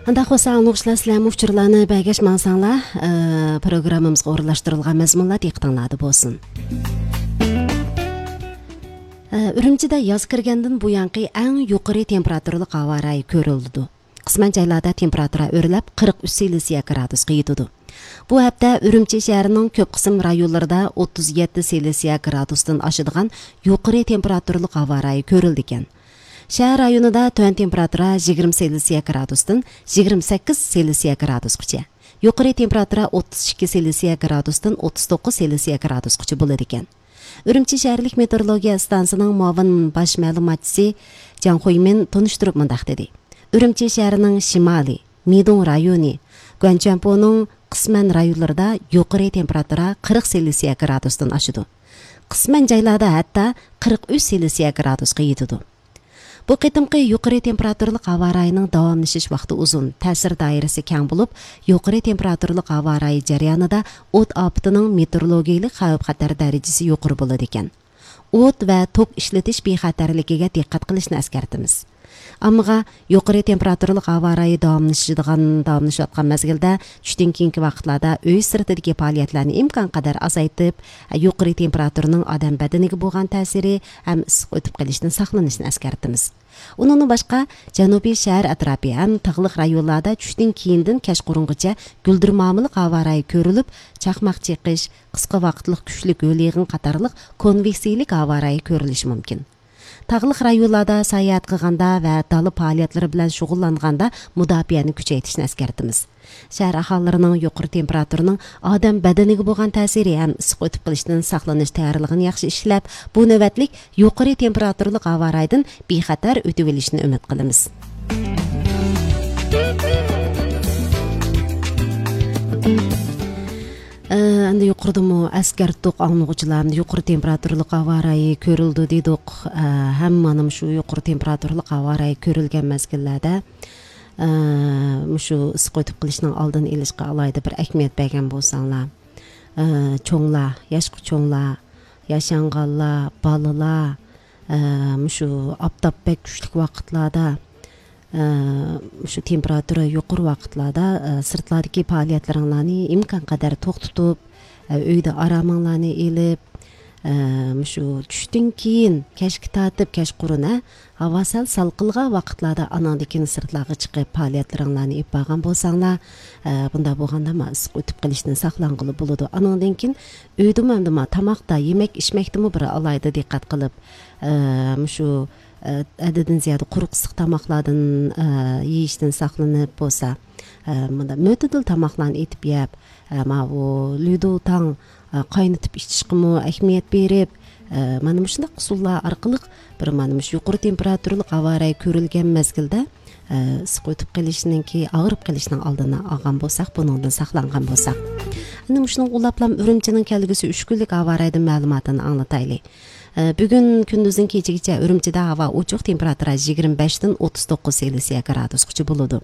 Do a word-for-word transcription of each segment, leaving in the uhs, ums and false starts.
ئۇنداق بولسا، ئاڭلىغۇچىلار، سىلەرمۇ ئۇچۇرلارنى بەرگەچ ماڭساڭلار، ئە، پروگراممىمىزغا ئورۇنلاشتۇرۇلغان مەزمۇنلار دىققىتىڭلاردا بولسۇن. ئە، ئۈرۈمچىدە ياز كىرگەندىن بۇيانقى ئەڭ يۇقىرى تېمپېراتۇرىلىق ھاۋا رايى كۆرۈلىدۇ. قىسمەن جايلاردا تېمپېراتۇرا ئۆرلەپ، قىرىق ئۈچ سېلسىيە گرادۇسقا يېتىدۇ. بۇ ھەپتە ئۈرۈمچى شەھىرىنىڭ كۆپ قىسىم رايونلىرىدا ئوتتۇز يەتتە سېلسىيە گرادۇستىن ئاشىدىغان يۇقىرى تېمپېراتۇرىلىق ھاۋا رايى كۆرۈلىدىكەن. شەھەر رايونىدا تۆۋەن تېمپېراتۇرا يىگىرمە سېلسىيە گرادۇستىن يىگىرمە سەككىز سېلسىيە گرادۇسقىچە، يۇقىرى تېمپېراتۇرا ئوتتۇز ئىككى سېلسىيە گرادۇستىن ئوتتۇز توققۇز سېلسىيە گرادۇسقىچە بولىدىكەن. ئۈرۈمچى شەھەرلىك مېتېئورولوگىيە ئىستانسىسىنىڭ مۇئاۋىن باش مەلۇماتچىسى جاڭ خۇيمىن تونۇشتۇرۇپ مۇنداق دېدى: ئۈرۈمچى شەھىرىنىڭ شىمالىي، مىدۇڭ رايونى، گۇەنچۈەنپۇنىڭ قىسمەن رايونلىرىدا يۇقىرى تېمپېراتۇرا قىرىق سېلسىيە گرادۇستىن ئاشىدۇ. قىسمەن جايلاردا ھەتتا قىرىق ئۈچ سېلسىيە گرادۇسقا يېتىدۇ. بۇ قېتىمقى يۇقىرى تېمپېراتۇرىلىق ھاۋا رايىنىڭ داۋاملىشىش ۋاقتى ئۇزۇن، تەسىر دائىرىسى كەڭ بولۇپ، يۇقىرى تېمپېراتۇرىلىق ھاۋا رايى جەريانىدا ئوت ئاپىتىنىڭ مېتېئورولوگىيىلىك خەۋپ-خەتەر دەرىجىسى يۇقىرى بولىدىكەن. ئوت ۋە توك ئىشلىتىش بىخەتەرلىكىگە دىققەت قىلىشنى ئەسكەرتىمىز. ئاممىغا يۇقىرى تېمپېراتۇرىلىق ھاۋا رايى داۋاملىشىدىغان، داۋاملىشىۋاتقان مەزگىلدە چۈشتىن كېيىنكى ۋاقىتلاردا ئۆي سىرتىدىكى پائالىيەتلەرنى ئىمكانقەدەر ئازايتىپ، يۇقىرى تېمپېراتۇرىنىڭ ئادەم بەدىنىگە بولغان تەسىرى ھەم ئىسسىق ئۆتۈپ قېلىشتىن ساقلىنىشنى ئەسكەرتىمىز. ئۇنىڭدىن باشقا، جەنۇبىي شەھەر ئەتراپى ھەم تاغلىق رايونلاردا چۈشتىن كېيىندىن كەچقۇرۇنغىچە گۈلدۈرمامىلىق ھاۋا رايى كۆرۈلۈپ، چاقماق چېقىش، قىسقا ۋاقىتلىق كۈچلۈك ھۆل يېغىن قاتارلىق كونۋېكسىيىلىك ھاۋا رايى كۆرۈلۈشى مۇمكىن. تاغلىق رايونلاردا ساياھەت قىلغاندا ۋە دالا پائالىيەتلىرى بىلەن شۇغۇللانغاندا مۇداپىئەنى كۈچەيتىشنى ئەسكەرتىمىز. شەھەر ئاھالىلىرىنىڭ يۇقىرى تېمپېراتۇرىنىڭ ئادەم بەدىنىگە بولغان تەسىرى ھەم ئىسسىق ئۆتۈپ قېلىشتىن ساقلىنىش تەييارلىقىنى ياخشى ئىشلەپ، بۇ نۆۋەتلىك يۇقىرى تېمپېراتۇرىلىق ھاۋا رايىدىن بىخەتەر ئۆتۈۋېلىشىنى ئۈمىد قىلىمىز. ئە، ئەمدى يۇقىرىدىمۇ ئەسكەرتتۇق، ئاڭلىغۇچىلار، ئەمدى يۇقىرى تېمپېراتۇرىلىق ھاۋا رايى كۆرۈلىدۇ دېدۇق. ئە، ھەم مانا مۇشۇ يۇقىرى تېمپېراتۇرىلىق ھاۋا رايى كۆرۈلگەن مەزگىللەردە، ئە، مۇشۇ ئىسسىق ئۆتۈپ قېلىشنىڭ ئالدىنى ئېلىشقا ئالاھىدە بىر ئەھمىيەت بەرگەن بولساڭلار. ئە، چوڭلار، ياشقا چوڭلار، ياشانغانلار، بالىلار، ئە، مۇشۇ ئاپتاپ بەك كۈچلۈك ۋاقىتلاردا، ئە، مۇشۇ تېمپېراتۇرا يۇقىرى ۋاقىتلاردا، ئە، سىرتلاردىكى پائالىيەتلىرىڭلارنى ئىمكانقەدەر توختىتىپ، ئە، ئۆيدە ئارامىڭلارنى ئېلىپ، ئە، مۇشۇ چۈشتىن كېيىن كەچكە تارتىپ، كەچقۇرۇن، ھە، ھاۋا سەل سالقىنلىغان ۋاقىتلاردا ئاناڭدىن كېيىن سىرتلارغا چىقىپ پائالىيەتلىرىڭلارنى ئېلىپ بارغان بولساڭلار، ئە، بۇنداق بولغاندا ما ئىسسىق ئۆتۈپ قېلىشتىن ساقلانغىلى بولىدۇ. ئانىڭدىن كېيىن ئۆيدىمۇ ئەمدى ما تاماقتا، يېمەك ئىچمەكتىمۇ بىر ئالاھىدە دىققەت قىلىپ، ئە، مۇشۇ، ئە، ھەددىدىن زىيادە قۇرۇق ئىسسىق تاماقلاردىن، ئە، يېيىشتىن ساقلىنىپ بولسا، ئە، مۇنداق مۆتىدىل تاماقلارنى ئېتىپ يەپ، ئە، ماۋۇ لۈدوتاڭ، ئە، قاينىتىپ ئىچىشقىمۇ ئەھمىيەت بېرىپ، ئە، مانا مۇشۇنداق ئۇسۇللار ئارقىلىق بىر مانا مۇشۇ يۇقىرى تېمپېراتۇرىلىق ھاۋا رايى كۆرۈلگەن مەزگىلدە، ئە، ئىسسىق ئۆتۈپ قېلىشنىڭكى، ئاغرىپ قېلىشنىڭ ئالدىنى ئالغان بولساق، بۇنىڭدىن ساقلانغان بولساق. ئەنە مۇشۇنىڭغا ئۇلاپلام ئۈرۈمچىنىڭ كەلگۈسى ئۈچ كۈنلۈك ھاۋا رايىدىن مەلۇماتىنى ئاڭلىتايلى. ئە، بۈگۈن كۈندۈزدىن كېچىگىچە ئۈرۈمچىدە ھاۋا ئوچۇق، تېمپېراتۇرا يىگىرمە بەشتىن ئوتتۇز توققۇز سېلسىيە گرادۇسقىچە بولىدۇ.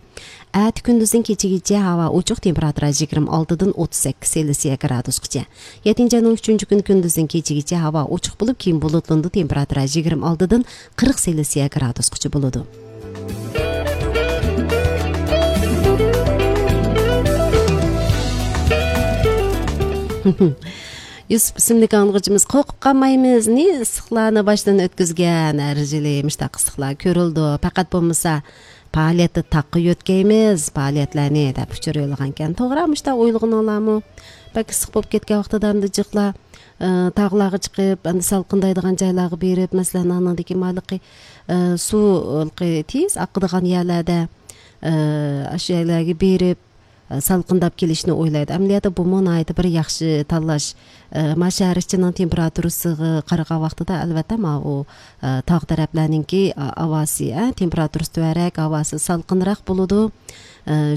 ئەتە كۈندۈزدىن كېچىگىچە ھاۋا ئوچۇق، تېمپېراتۇرا يىگىرمە ئالتىدىن ئوتتۇز سەككىز سېلسىيە گرادۇسقىچە. يەتتىنچى ئاينىڭ ئۈچىنچى كۈنى كۈندۈزدىن كېچىگىچە ھاۋا ئوچۇق بولۇپ، كېيىن بۇلۇتلىنىدۇ، تېمپېراتۇرا يىگىرمە ئالتىدىن قىرىق سېلسىيە گرادۇسقىچە بولىدۇ. يۈسۈپ ئىسىملىك ئاڭلىغۇچىمىز، قورقۇپ قالمايمىز، نى ئىسسىقلارنى باشتىن ئۆتكۈزگەن، ھەر يىلى مۇشتاق ئىسسىقلار كۆرۈلىدۇ، پەقەت بولمىسا پائالىيەتتە تاغقا يۆتكەيمىز پائالىيەتلەرنى دەپ ئۇچۇر يوللىغانىكەن. توغرا، مۇشتاق ئويلىغىنىڭلارمۇ؟ بەك ئىسسىق بولۇپ كەتكەن ۋاقتىدا ئەمدى جىقلار، ئە، تاغلارغا چىقىپ، ئەمدى سالقىندايدىغان جايلارغا بېرىپ، مەسىلەن، ئانىڭدىكى مالىقى، ئە، سۇ ھېلىقى تېز ئاقىدىغان يەرلەردە، ئە، ئاشۇ يەرلەرگە بېرىپ، ئە، سالقىنداپ كېلىشنى ئويلايدۇ. ئەمەلىيەتتە بۇمۇ ناھايىتى بىر ياخشى تاللاش. ئە، ما شەھەر ئىچىنىڭ تېمپېراتۇرىسىغا قارىغان ۋاقتىدا، ئەلۋەتتە، ماۋۇ، ئە، تاغ تەرەپلەرنىڭكى، ئا-، ھاۋاسى، ئە، تېمپېراتۇرىسى تۆۋەنرەك، ھاۋاسى سالقىنراق بولىدۇ. ئە،